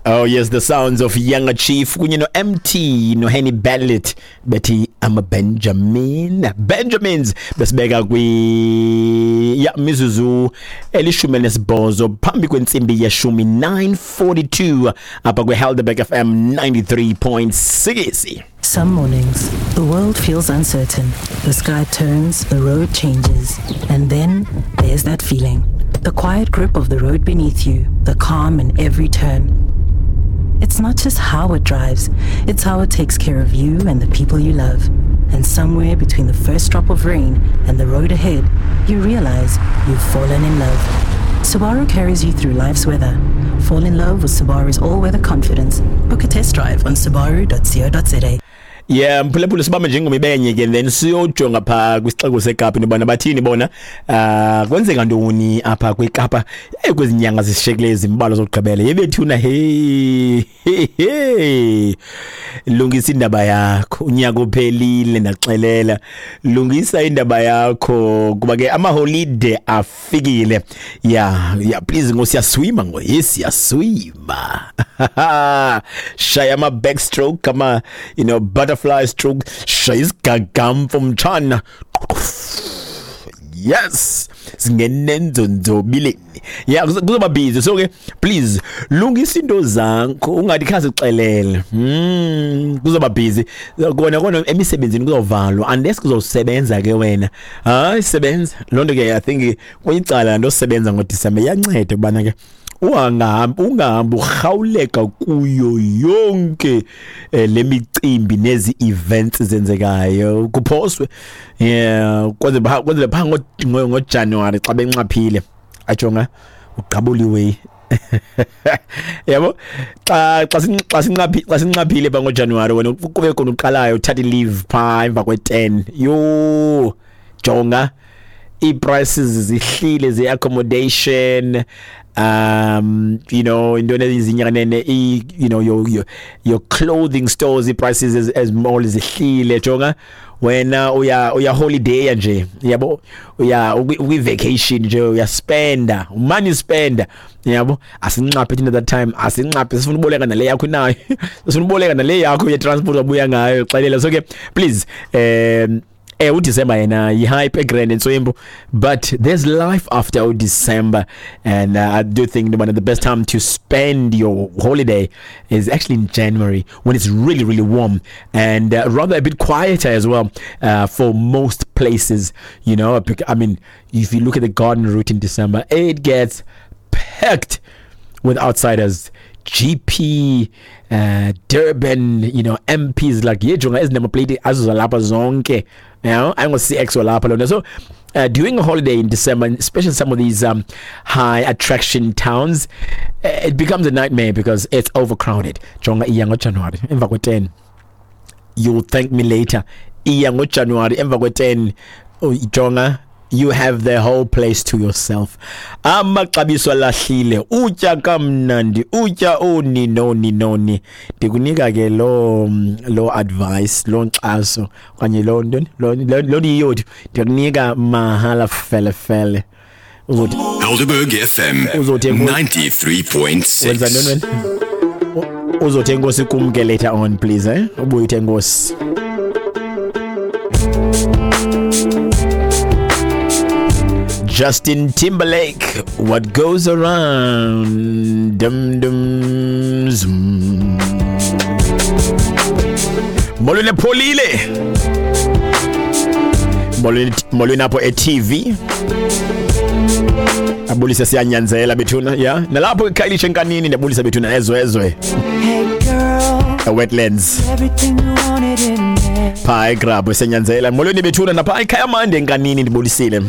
Oh yes, the sounds of Younger Chief kunye no MT no Henny Ballet bethi ama Benjamin. Benjamins besibeka kwi ya mizuzu 18 phambi kwentsimbi yeshumi, 9:42 apha kwi Helderberg FM 93.6. Some mornings, the world feels uncertain. The sky turns, the road changes, and then there's that feeling. The quiet grip of the road beneath you, the calm in every turn. It's not just how it drives, it's how it takes care of you and the people you love. And somewhere between the first drop of rain and the road ahead, you realize you've fallen in love. Subaru carries you through life's weather. Fall in love with Subaru's all-weather confidence. Book a test drive on subaru.co.za. Yeah, mphulaphula, sibambe njengomibenye ke, then siyojonga phaa kwisixeko seKapa into yobana bathini bona, kwenzeka ntoni apha kwiKapa kwezi nyanga zishiyekileyo zimbalwa zokugqibela. Yebethuna, hey hey hey, lungisa indaba yakho, unyaka uphelile, ndaxelela, lungisa indaba yakho kuba ke amaholide afikile. Yeah, please, ngo siyaswima, ngo yes, siyaswima. Shaya ama backstroke, ama butterfly stroke, shaya isigagamfo mtshana. Yes, singenenzonzobileni. Yeah, kuzoba busy, so ke please lungisa into zakho, ungathi khazi xelele. Kuzoba busy kona kona emisebenzini, kuzovalwa unless kuzosebenza ke wena. Hayi, sebenza loo nto ke. I think kuyicala nto sebenza ngoDisemba iyanceda kubana ke ungahambi urhawuleka kuyo yonke le micimbi nezi events zenzekayo, kuphoswe, yeah, kwenzele pha ngoJanuary xa benxaphile, ajonga uqabuliwe, yabo, xa sinxaphile pha ngoJanuary, wena kube khona uqalayo uthatha leave pha emva kwe-10. Yo, jonga, ii-prices zihlile ze-accommodation, into ezinyanene, your clothing stores, i-prices as mall zihlile. Jonga wena, uya holiday nje, yabo, uya ukwi-vacation nje, uyaspenda, money spender, yabo. Asinxaphe thina that time, asinxaphe, sifuna uboleka nale yakho nayo, sifuna uboleka nale yakho ye-transport wabuya ngayo, xelela. So ke please, uDecember yena yi-hype egrand entswembu, but there's life after December, and I do think one of the best time to spend your holiday is actually in January, when it's really, really warm and rather a bit quieter as well for most places. I mean, if you look at the Garden Route in December, it gets packed with outsiders, GP, Durban, MPs, like yejonga ezi number plate azozalapha zonke, ayingo-CX walapha lona. So during a holiday in December, especially some of these high attraction towns, it becomes a nightmare because it's overcrowded. Jonga, iya ngoJanuary emva kwe-10, you'll thank me later. Iya ngoJanuary emva kwe-10, oh, jonga, you have the whole place to yourself, amaxabiso alahlile, utya kamnandi, utya oni noni noni. Ndikunika ke lo advice, lo nkxaso okanye lo ntoni, lo ndiyiyothu, ndikunika mahala fele fele. Uzothi Helderberg FM Uzothi 93.6. Wenza ntoni wena? Uzothi enkosi kum ke later on, please, eh, ubuye uthi enkosi. Justin Timberlake, "What Goes Around". Dum dum zoom. Molweni pholile. Molweni, molweni apho e-TV. Abulise siyanyanzela bethuna, ya. Nalapho eKhayelitsha enkanini ndiyabulisa bethuna ezwezwe. Hey girl, Wetlands. everything you wanted in there. Pha eGrabho senyanzela. Molweni bethuna napha eKhayamande enkanini ndibulisile.